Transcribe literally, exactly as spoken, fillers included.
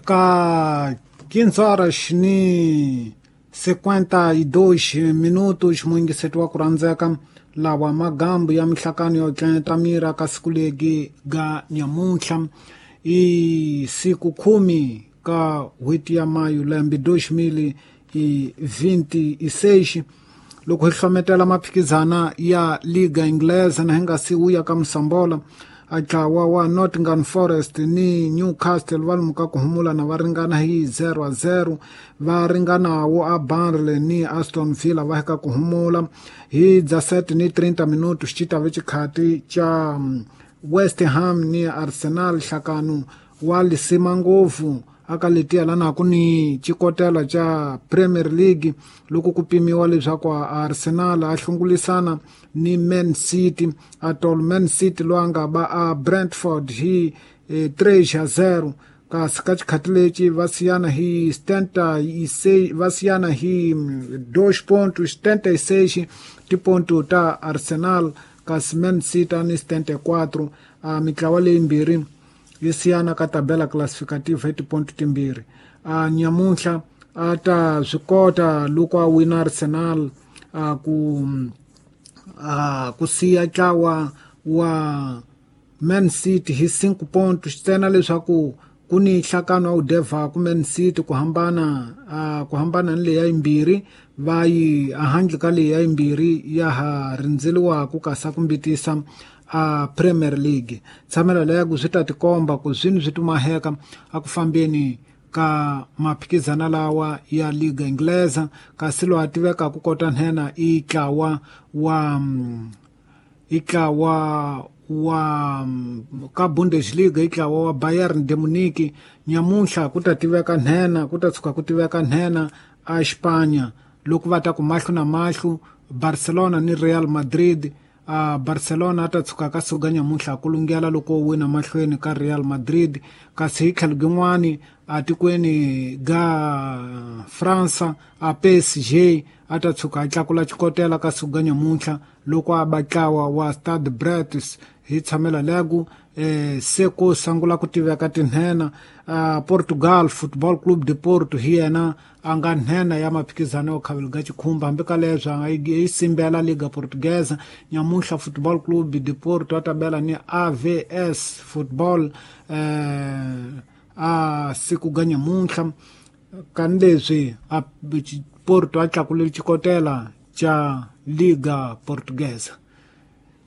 Ka quinze horas ni cinquenta e dois minutos muyingiseti wa ku rhandzeka lawa magambu ya mihlakano yo tlenta mira ka siku legi ga nyamuntlha i siku khume ka n'hweti ya mayu lembe dois mil e vinte e seis loko hi hlometela maphikizana ya Liga Inglesa na hi nga si wuya ka Msambola a ntlawa wa Nottingham Forest ni Newcastle va lomu ka ku humula na va ringana hi zero a zero va ringanawo a Burnley ni Aston Villa va hika ku humula hi dezessete ni trinta minutos xi ta ve xikhati xa West Ham ni Arsenal nhlakano wa lisima ngopfu aka letiya lana ku ni xikotela xa Premier League loko ku pimiwa leswaku Arsenal a hlungulisana ni Man City atol Man City loyi a nga ba a Brentford hi eh, três a zero kasi ka xikhati lexi va siyana hi setenta e seis va siyana hi dois pontos setenta e seis tiponto ta Arsenal kasi Man City a ni setenta e quatro a mitlawa leyimbirhi yi siyana ka tabela classificativa hi tiponto timbirhi a nyamuntlha a ta swi kota loko a wina Arsenal a ku a ku siya ntlawa wa Man City hi cinco pontos ntsena leswaku ku ni nhlakano wa wu devhaku Man City ku hambana a ku hambana ni leya yimbirhi va yi ehandle ka leya yimbirhi ya ha rindzeliwaku kasi a ku mbitisa a Premier League tshamela leya ku swi ta tikomba ku swini swi tumaheka a ku fambeni ka maphikizana lawa ya Liga Inglesa kasi loyi a tivekaka kota nhenha i ntlawa wa i ntlawa wa ka Bundesliga i ntlawa wa Bayern de Munich nyamuntlha ku ta tiveka nhenha ku ta tshuka ku tiveka nhenha a Espanya loko va ta ku mahlo na mahlo Barcelona ni Real Madrid a Barcelona a ta tshuka ka suka nyamuntlha ku lunghela loko wina mahlweni ka Real Madrid kasi hi tlhelo gin'wani a tikweni ga Fransa a P S G a ta tshuka a tlakula xikotela ka suka nyamuntlha loko a ba ntlawa wa Stade Brest hi tshamela legu eh, se ku sungula ku tiveka tinhena a Portugal Football Club de Porto hi yena a nga nhenha ya maphikizano yo khavela ga xikhumba hambi ka leswi a nga yi simbela Liga Portuguesa nyamuntlha Football Club de Porto a ta bela ni A V S Football eh, a siku ga nyamuntlha kani leswi a Porto a tlakulele xikotela xa Liga Portuguesa.